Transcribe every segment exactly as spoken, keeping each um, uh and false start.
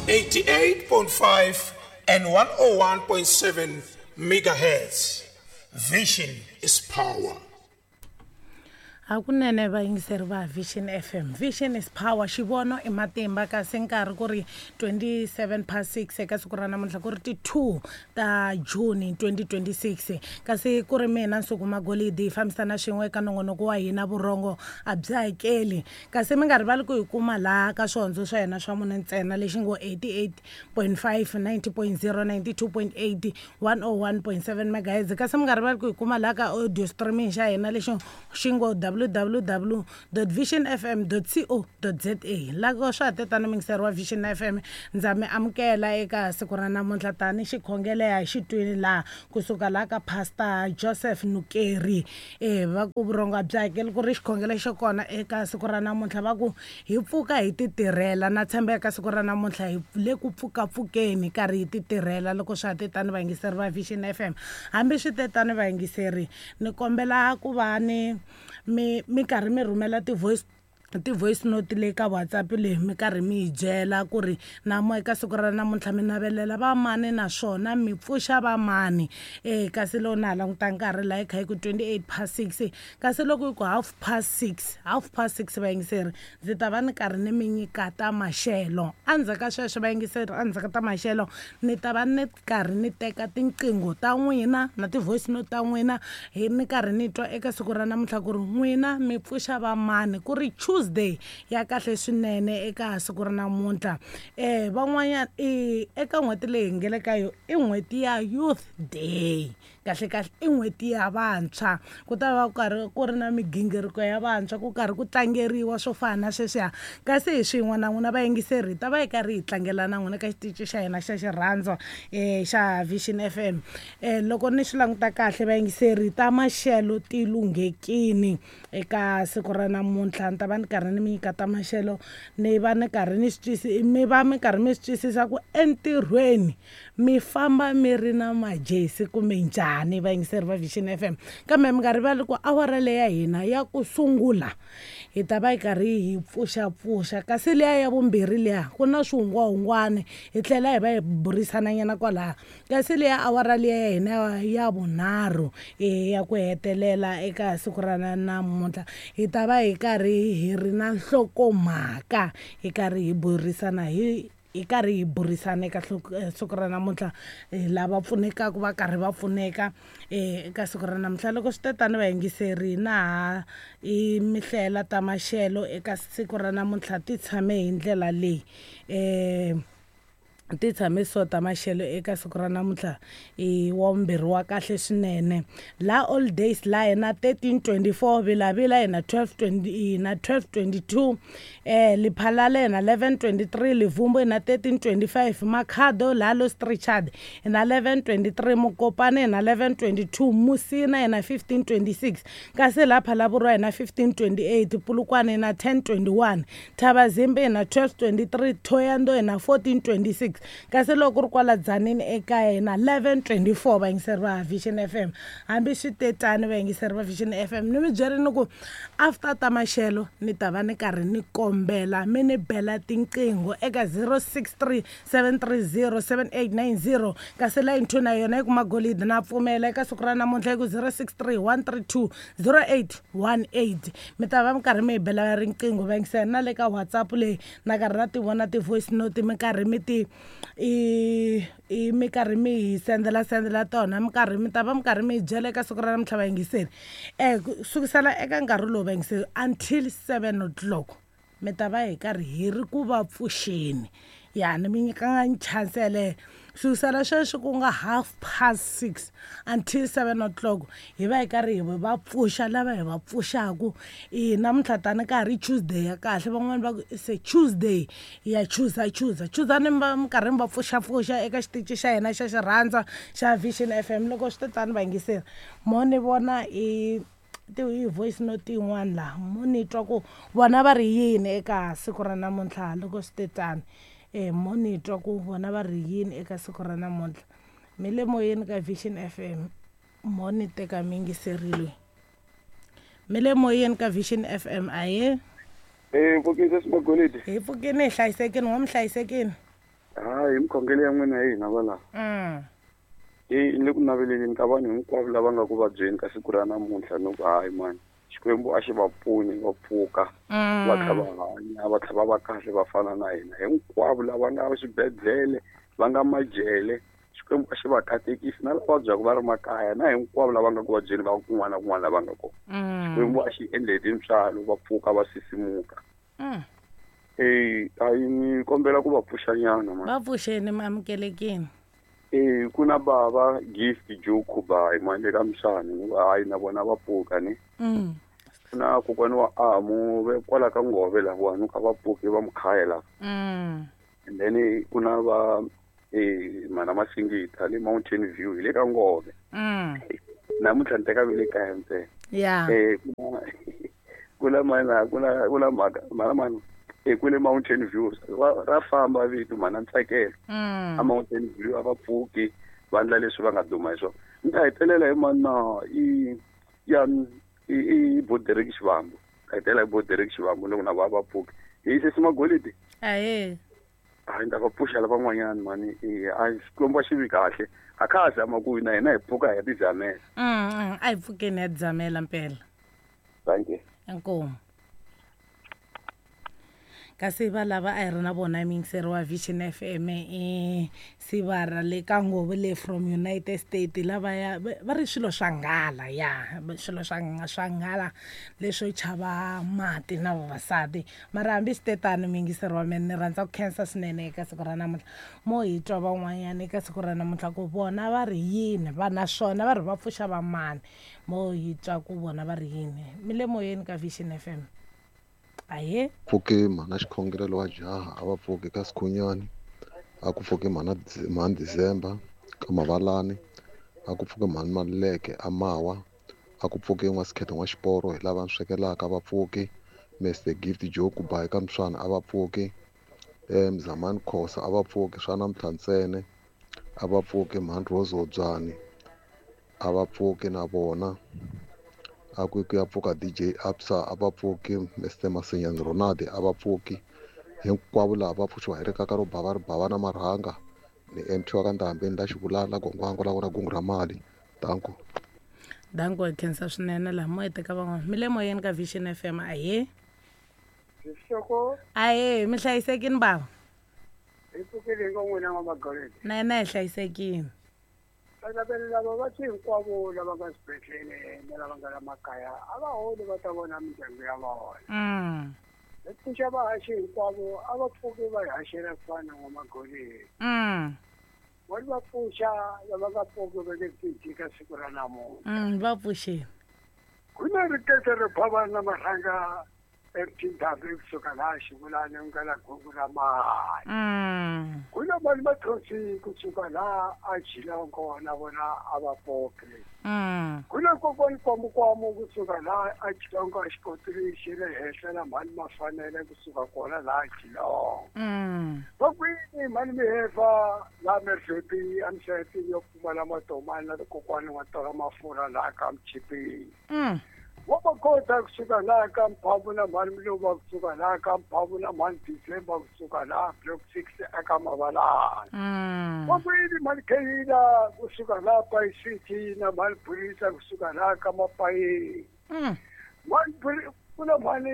eighty-eight point five and one oh one point seven megahertz. Vision is power. Hakunene vayingiseri va Vision F M. Vision is power. Xivono i matimba kasi nkarhi ku ri twenty-seven past six eka siku ra namuntlha ku ri ti two ta June twenty twenty-six. Kasi ku ri mina Nsuku Magolidi hi fambisana swin'we eka nongonoko wa hina vurhongo a byi hakeli. Kasi mi nga rivali ku hi kuma laha ka swihondzo swa hina swa mune ntsena lexi ngo eighty-eight point five, ninety point zero, ninety-two point eight, one oh one point seven megahertz. Kasi mi nga rivali ku hi kuma laha ka audio streaming xa hina lexi xi ngo w w w dot vision f m dot co dot z a. Loko swa ha tetana muyingiseri wa Vision F M, ndza mi amukela eka siku ra namuntlha tani xikhongelo hi xitwini laha kusuka laha ka Pastor Joseph Nukeri. Eh, va ku vurhongo a byi hakeli ku ri xikhongelo xo kona eka siku ra namuntlha va ku hi pfuka hi titirhela. Na tshemba eka siku ra namuntlha hi le ku pfukapfukeni karhi hi titirhela loko swa ha tetana vayingiseri va Vision F M. Hambi swi tetana vayingiseri, ni kombela ku va ni mi mi karhi mi rhumela ti-voice ti-voice note leyi ka WhatsApp leyi mi karhi mi hi byela ku ri namo eka siku ra namuntlha mi navelela va mani naswona mi pfuxa va mani. Eh, kasi loko na ha languta nkarhi laha yi kha yi ku twenty-eight past six, kasi loko yi ku half past six, half past six vayingiseri ndzi ta va ni karhi ni mi nyika ta maxelo. Endzhaku ka sweswo vayingiseri, endzhaku ka ta maxelo ni ta va ni karhi ni teka tinqingho ta n'wina na ti-voice note ta n'wina hi ni karhi ni twa eka siku ra namuntlha ku ri n'wina mi pfuxa va mani, ku ri Tuesday ya kahle swinene eka siku ra namuntlha. Eh, van'wanyana i eka n'hweti leyi hi nge le ka yona i n'hweti ya Youth Day. Kahle kahle i n'hweti ya vantshwa, ku ta va ku karhi ku ri na migingiriko ya vantshwa, ku karhi ku tlangeriwa swo fana na sweswiya. Kasi hi swin'we na n'wina vayingiseri hi ta va hi karhi hi tlangela na n'wina ka xitichi xa hina xa xirhandza, eh, xa Vision F M. Eh, loko ni swi languta kahle vayingiseri, ta maxelo ti lunghekini eka siku ra namuntlha. Ni ta va ni karhi ni mi nyika ta maxelo, ni va ni karhi ni swi twisi, mi va mi karhi mi swi twisisa ku entirhweni mi famba mi ri na majesi kumbe njhani vayingiseri va Vision F M. Kambe mi nga rivali ku awara leya hina ya ku sungula hi ta va hi karhi hi pfuxapfuxa, kasi liya ya vumbirhi liya ku na swihungwahungwani hi tlhela hi va hi burisana nyana kwalaha. Kasi liya awara liya ya hina ya vunharhu ya ku hetelela eka siku ra namuntlha hi ta va hi karhi hi ri na nhlokomhaka, hi karhi hi burisana hi hi karhi hi burisana eka siku ra namuntlha, lava pfunekaka va karhi va pfuneka eka siku ra namuntlha. Loko swi tetana vayingiseri, na ha i mihlela ta maxelo eka siku ra namuntlha ti tshame hi ndlela leyi. Eh, ti tshame so ta maxelo eka siku ra namuntlha i wa vumbirhi wa kahle swinene. La all days la hina thirteen twenty-four, Vilavila hina twelve twenty, na twelve twenty-two, eh, Lephalale hina eleven twenty-three, Livumbu hina thirteen twenty-five, Makhado Lalo Strichard hina eleven twenty-three, Mokopane hina eleven twenty-two, Musina hina fifteen twenty-six, kasi la Phalaborwa hina fifteen twenty-eight, Polokwane hina ten twenty-one, Thabazimbi hina twelve twenty-three, Thohoyandou hina fourteen twenty-six, kasi loko ku ri kwala Dzanini ekaya hina eleven twenty-four vayingiseri va Vision F M. Hambi swi tetani vayingiseri va Vision F M, ni mi byerini ku after ta maxelo ni ta va ni karhi ni kombela mi ni bela tinqingho eka zero six three seven three zero seven eight nine zero, kasi line two na yona yi ku Magolidi na pfumela eka siku ra namuntlha yi ku zero six three one three two zero eight one eight. Mi ta va mi karhi mi hi bela riqingho vayingiseri, na le ka WhatsApp leyi na karhi na ti vona ti-voice note mi karhi mi ti i i mi karhi mi hi sendela sendela tona, mi karhi mi ta va mi karhi mi hi byela eka siku ra namuntlha vayingiseri. Eh, sukisela eka nkarhi lowu vayingiseri until seven o'clock mi ta va hi karhi hi ri ku va pfuxeni. Ya ni mi nyikanga chance yeleyo. Sukisela sweswi ku nga half past six until seven o'clock hi va hi karhi hi va pfuxa lava hi va pfuxaku. I namuntlha tani ka ha ri Tuesday ya kahle, van'wani va ku se Tuesday ya choosa choosa chuzani mi va mi karhi mi va pfuxapfuxa eka xitichi xa hina xa xirhandza xa Vision F M. Loko swi tetani vayingiseri, mo ni vona i ti voice note yin'wana laha mo ni twa ku vona va ri yini eka siku ra namuntlha. Loko swi tetani, eh, mo ni twa ku vona va ri yini eka siku ra namuntlha. Mi le moyeni ka Vision F M, mo ni teka miyingiseri loyi. Mi le moyeni ka Vision F M, ahee. Eh, mpfukeni sesi Magolidi. Hi pfukini hi hlayisekini, wa mi hlayisekini? Hayi, mikhongelo ya n'wina hi hina valava. Mm. E ni le ku naveleleni ka vanhu hinkwavo lava nga ku vabyeni ka siku ra namuntlha ni ku hayi mani Xikwembu a xi va pfuni va pfuka va tlha va hanya va tlha va va kahle va fana na hina hinkwavo lava nga swibedhlele va nga majele Xikwembu a xi va katekisi na lava vabyaka va ri makaya na hinkwavo lava nga ku vabyeni va kun'wana na kun'wana lava nga kona. Xikwembu a xi endle hi tintswalo va pfuka va sisimuka. Mm. Eh a yi ni kombela ku va pfuxanyana mani. Va pfuxeni mi amukelekini. Eh ku na bava Gift Joe Khubayi mani le ka Mswani ni ku hayi na vona va pfuka ni. Mm. Ku na kokwana wa Amu ve kwala ka Ngove lahawani ka va pfuki va Mkhaya laha. Mm. And then ku na va eh mana Masingita le Mountain View hi le ka Ngove. Mm. Namuntlha ni teka ve le kaya ntsena. Yeah. Eh ku na ku na mana ku na ku na mhaka mana mani e ku le Mountain View ra famba vito mana Ntsakelo. Mm. A Mountain View a va pfuki va endla leswi va nga duma hi swona. Ni ta hetelela hi mana i ya i i Boderek Xivambu. Ta hetelela hi Boderek Xivambu loko na va va pfuki. Hi sesi Magolidi. Ahee. Hayi ni ta va pfuxa lavan'wanyana mani a Xikwembu a xi vi kahle. A kha ha zama ku na hina hi pfuka hi ya tizamela. Mm, a hi pfukeni hi ya tizamela mpela. Thank you. Inkomu. Kasi va lava a hi ri na vona muyingiseri wa Vision F M i Sivara le ka Ngove le from United States lava ya va ri swilo swa nghala ya swilo swa swa nghala leswo chava mati na vavasati mara hambi swi te tano muyingiseri wa mina ni rhandza ku khensa swinene eka siku ra namuntlha mo hi twa van'wanyana eka siku ra namuntlha ku vona va ri yini va naswona va ri va pfuxa va mani mo hi twa ku vona va ri yini mi le moyeni ka Vision F M. Aye. Pfuke mhana xikhongelelo wa jaha a va pfuki ka Sikhunyani, a ku pfuki mhana mhani December ka Mavalani, a ku pfuki mhani Maluleke a Mawa, a ku pfuki n'wa Sikhethe n'wa Xiporo hi lava ni swekelaka a va pfuki, Mister Gift Joe Kubayi ka Mswana a va pfuki, eh Mzamani Khosa a va pfuki swa namuntlha ntsena a va pfuki mhani Rose Hobyani a va pfuki na vona. A ku ku ya pfuka D J Absa a va pfuki, Mister Masinyani Ronaldo a va pfuki, hinkwavo lava va pfuxiwa hi rikaka ro bava ri bava na marhanga ni M T wa ka Ndhambi ni la Xivulala gongwango la vona gungu ra mali. Danko. Danko hi khensa swinene laha mo hete ka van'wana mi le moyeni ka Vision F M. Ahee. Xihloko. Ahee, mi hlayisekini bava? Hi pfukile ngo n'wina n'wa Magolidi. Na hina hi hlayisekile. Lava va ti hinkwavo lava nga swibedhlele na lava nga la makaya a va holi va ta vona mindyangu ya vona. Mm. Hi pfuxa vahaxi hinkwavo a va pfuki va hi haxela ku fana na n'wa Magolidi. Mm. Vona va pfuxa lava nga pfuki va nge pfuki ka siku ra namuntlha. Mm, va pfuxile. Ku na rikete ro bava na marhanga eMtindhambi kusuka laha Xivulani ku nga la gungu ra mali. Mm. Ku na mali mathonsi kusuka laha a Jilongo na vona a va pfuki. Mm. Ku na kokwani Kwamukwamu kusuka laha a Jilongo a xikotiri xi le henhla na mali mafanele kusuka kona laha Jilongo. Mm. Va kwini mali mihefa laha Mervepi a Mseti yo pfumala matomani na kokwani wa tola mafurha laha ka Mchipini. Mm. Wa va kota kusuka laha ka Mphavu na mhani Mluva kusuka laha ka Mphavu na mhani December kusuka laha Block six eka Mavalani. Mm. Va kwini mhani Kheyila kusuka laha Pai City na mhani Phurisa kusuka laha ka Mapayeni. Mm. Mhani Phuri ku na mhani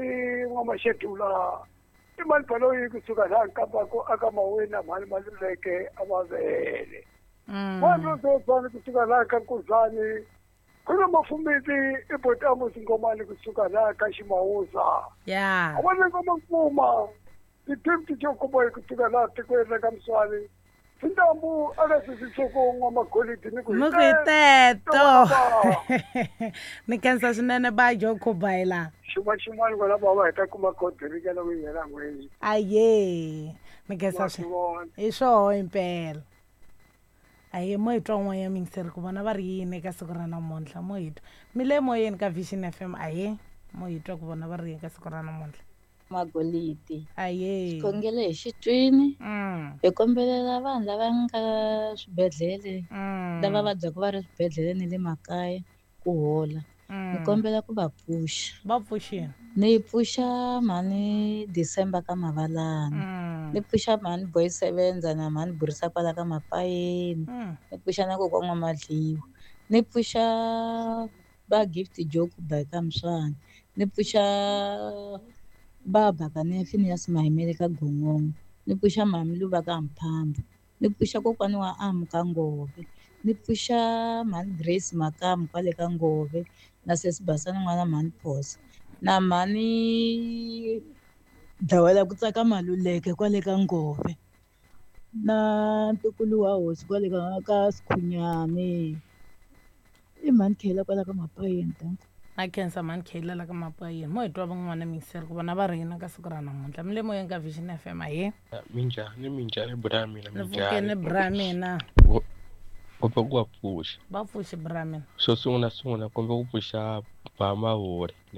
N'wa-Maxedula i mhani Baloyi kusuka laha Nkambako aka Maweni na mhani Maluleke a Mavele. Mm. Mhani Rosozwana kusuka laha ka Nkuzani. Ku na Mafumisi i Botamu Singomani kusuka laha ka Ximawusa. Yeah. A va ni ngoma Nkuma ti-Gift Joe Kubayi kusuka laha tikweni ra ka Mswani. Tintambu a ka sisi Soko n'wa Magolidi ni ku Ni ku hi teto. Ni khensa swinene ba Joe Kubayi laha. Xin'wana xin'wana kwala bava hi ta kuma khodirika loko yi hela n'hweti. Ahee, ni khensa Wa swi vona. Hi swoho impela. Ahee, mo hi twa un'wana ya muyingiseri ku vona va ri yini eka siku ra namuntlha mo hi twa mi le moyeni ka Vision F M. Ahee, mo hi twa ku vona va ri yini ka siku ra namuntlha. Magolidi. Ahee. Xikhongelo hi xitwini. Mm. Hi kombelela vanhu lava nga swibedhlele, Mm. lava vabyaka va ri swibedhlele ni le makaya ku hola. Ni Mm. kombela ku va pfuxa. Va pfuxini. Ni pfuxa mhani December ka Mavalani. Mm. Ni pfuxa mhani Boy Sevenza na mhani Burisa kwala ka Mapayeni. Mm. Ni pfuxa na kokwa N'wamadliwa. Ni pfuxa va Gift Joke by ka Mswani. Ni pfuxa va Bakane Phineas Mahimele ka Gongongo. Ni pfuxa mhani Luva ka Mphamba. Ni pfuxa kokwani wa Amu ka Ngove. Ni pfuxa mhani Grace Makamu kwale ka Ngove na sesi Basani n'wana mhani Phosa. Na mhani Dawela ku tsaka Maluleke kwale ka Ngove. Na ntukulu wa hosi kwale ka ka Sikhunyani. I mhani Khela kwala ka Mapayeni danko. Na khensa mhani Khela la ka Mapayeni. Mo hi twa van'wana miyingiseri ku vona va ri yini ka siku ra namuntlha. Mi le moyeni ka Vision F M, ahee. Minjhani, minjhani bra mina? Ni pfukeni Minjhani? bra mina. Kombe ku va pfuxa. Va pfuxi bra mina. Xo sungula sungula kombe ku pfuxa ba Mavuri.